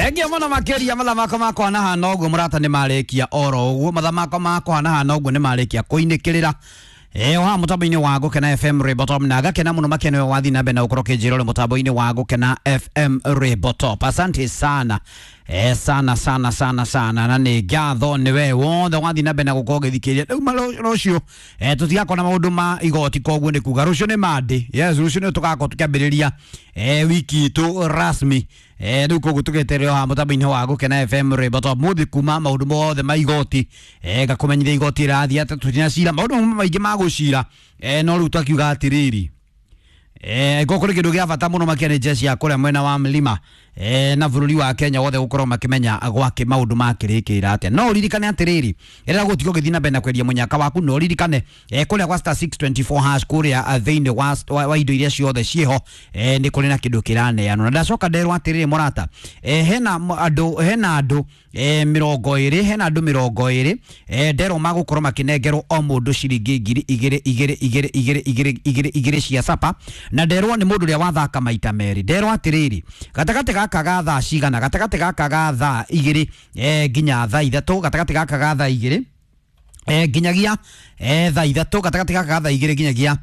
Thengia muno makiria mathamako makwa na hana uguo murata ni marikia oro uguo mathamako makwa na hana uguo ni marikia kuinikirira. Oha mutambo-ini wa Gukena FM Ribotop na gakena muno makena wathi na mbere na ukorwo kinjira uri mutambo-ini wa Gukena FM Ribotop. Asante sana. Sana sana sana sana na nĩ ngatho nĩ we wothe wathi na mbere na gũkorwo ũgĩthikĩrĩria rĩu rũciũ tũtigakorwo na maũndũ ma igoti koguo nĩ kuga rũciũ nĩ Monday. Yes, rũciũ nĩ tũgakorwo tũkĩambĩrĩria wiki itũ rasmi. Rĩu koguo tũgeterere haha mũtambo-inĩ wa Gukena FM Ribotop mũthĩ kuma maũndũ mothe ma igoti ngakũmenyithia igoti rĩrathiĩ atĩa tũtinacira maũndũ maingĩ ma gũcira no rĩu twakiuga atĩrĩrĩ gũkũ nĩ kĩndũ gĩa bata mũno makĩria nĩ jeshi ya kũrĩa mwena wa mlima na bũrũri wa Kenya wothe gũkorwo makĩmenya gwake maũndũ makĩrĩkĩra atĩa. No ũririkane atĩrĩrĩ rĩrĩa gũtigo gĩthiĩ na mbere na kwendia mũnyaka waku no ũririkane kũrĩa gwa star 624 hash kũrĩa thĩinĩ wa indo iria ciothe ciĩho nĩ kũrĩ na kĩndũ kĩraneanwo na ndacoka nderwo atĩrĩrĩ mũrata hena andũ 20 hena andũ 20 nderwo magũkorwo makĩnengerwo o mũndũ ciringi ngiri igĩrĩ igĩrĩ igĩrĩ igĩrĩ igĩrĩ igĩrĩ igĩrĩ cia sapa na nderwo nĩ mũndũ ũrĩa wathaka maita merĩ. Nderwo atĩrĩrĩ gatagatĩ gaka ga thaa cigana gatagatĩ gaka ga thaa igĩrĩ nginya thaa ithatũ gatagatĩ gaka ga thaa igĩrĩ nginyagia thaa ithatũ gatagatĩ gaka ga thaa igĩrĩ nginyagia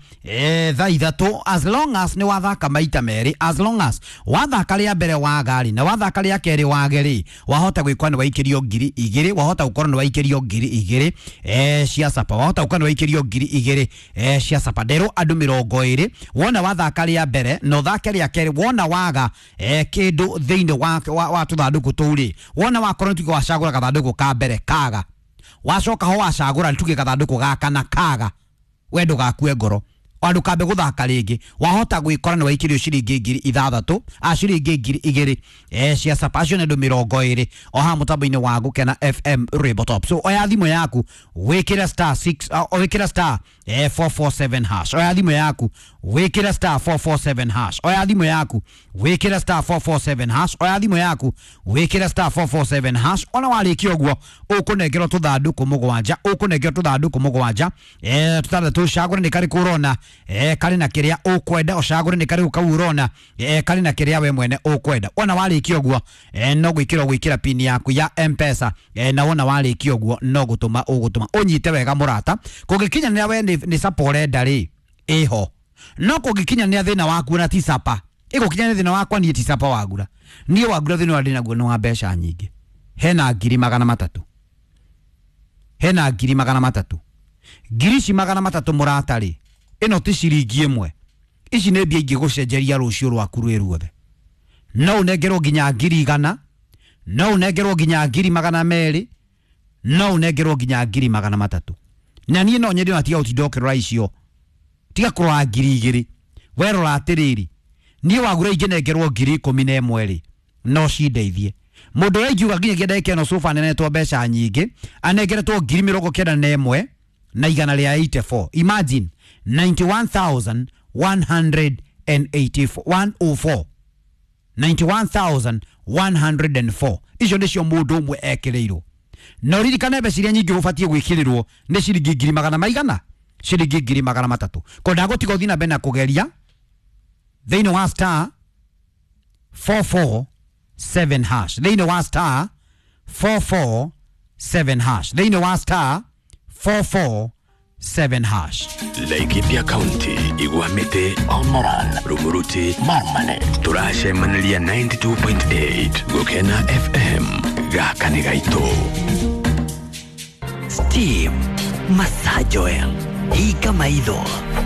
thaa ithatũ as long as nĩ wathaka maita merĩ, as long as wathaka rĩa mbere waga rĩ na wathaka rĩa kerĩ wage rĩ wahota gwĩkwa nĩ waikĩrio ngiri igĩrĩ wahota gũkorwo nĩ waikĩrio ngiri igĩrĩ cia sapa wahota gũkorwo nĩ waikĩrio ngiri igĩrĩ cia sapa. Nderwo andũ 20 wona wathaka rĩa mbere na ũthake rĩa kerĩ wona waga kĩndũ thĩinĩ wa tũthandũkũ tũu rĩ wona wakorwo nĩ tuge wacagũra gathandũkũ ka mbere kaga wacoka ho wacagũra tuge gathandũkũ gaka na kaga we ndũgakue ngoro andũ kambe gũthaka rĩngĩ wahota gwĩkora nĩ waikĩrio ciringi ngiri ithathatũ a ciringi ngiri igĩrĩ cia sapa acio nĩ andũ 20 o haha mũtambo-inĩ wa Gukena FM Ribotop. So oya thimũ yaku wĩkĩre star 6 wĩkĩre star 447 hash oya thimũ yaku wĩkĩre star 447 hash oya thimũ yaku wĩkĩre star 447 hash oya thimũ yaku wĩkĩre star 447 hash. Ona warĩkia ũguo ũkũnengerwo tũthandũkũ mũgwanja ũkũnengerwo tũthandũkũ mũgwanja tũtandatũ ũcagũre nĩ karĩkũ ũrona karĩ na kĩrĩa ũkwenda ũcagũre nĩ karĩkũ kau ũrona karĩ na kĩrĩa we mwene ũkwenda. Wona warĩkia ũguo no gwĩkĩra gwĩkĩra pin yaku ya M-Pesa na wona warĩkia ũguo no gũtũma ũgũtũma ũnyite wega mũrata kũngĩkinyanĩra we nĩ sapa ũrenda rĩ ĩho no kũngĩkinyanĩra thĩna waku na ti sapa ĩgũkinyanĩra thĩna wakwa niĩ ti sapa wagura niĩ wagura thĩna ũrĩa ndĩnaguo nĩ wa mbeca nyingĩ hena ngiri magana matatũ hena ngiri magana matatũ ngiri ici magana matatũ mũrata rĩ ĩno ti ciringi ĩmwe ici nĩ mbia ingĩgũcenjeria rũciũ rwaku rwĩ ruothe no ũnengerwo nginya ngiri igana no ũnengerwo nginya ngiri magana merĩ no ũnengerwo nginya ngiri magana matatũ na niĩ no nyende ona tiga gũtinda ũkĩrora icio tiga kũrora ngiri igĩrĩ we rora atĩrĩrĩ niĩ wagura ingĩnengerwo ngiri 11 rĩ no cindeithie mũndũ ũrĩa ingiuga nginyagia ndagĩka ĩno cuba anenetwo mbeca nyingĩ anengeretwo ngiri 91 na igana rĩa 84. Imagine 91,184 91,104 icio nĩcio mũndũ ũmwe ekĩrĩirwo na ũririkane mbeca iria nyingĩ ũbatiĩ gwĩkĩrĩrwo nĩ ciringi ngiri magana maigana ciringi ngiri magana matatũ ko ndagũtiga ũthiĩ na mbere na kũgeria thĩinĩ wa star 447 hash thĩinĩ wa star 447 hash thĩinĩ wa star 447 hash. Laikipia County, Igwamite, Olmoran, Rumuruti, Marmanet. Turacemaniria 92.8 Gukena FM gaka nĩ gaitũ. Steam Massage Oil hinga maitho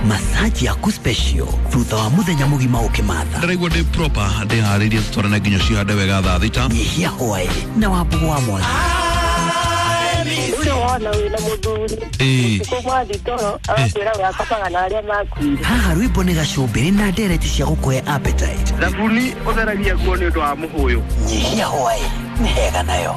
massage yaku special thutha wa muthenya mugima ukimatha ndĩraigua ndĩ proper ndĩharĩirie tũtwarane nginya cihande wega thaa thita nyihia hwaĩ na wambugu wa mwangi Ũcio wona wĩna mũthuri ũtukũ mwathi toro agakwĩra we akomaga na arĩa makuire. Haha rwĩmbo nĩ gacumbĩrĩ na ndereti cia gũkũhe appetite thabuni ũtheragia nguo nĩ ũndũ wa mũhũyũ nyihia hwaĩ nĩ hega nayo.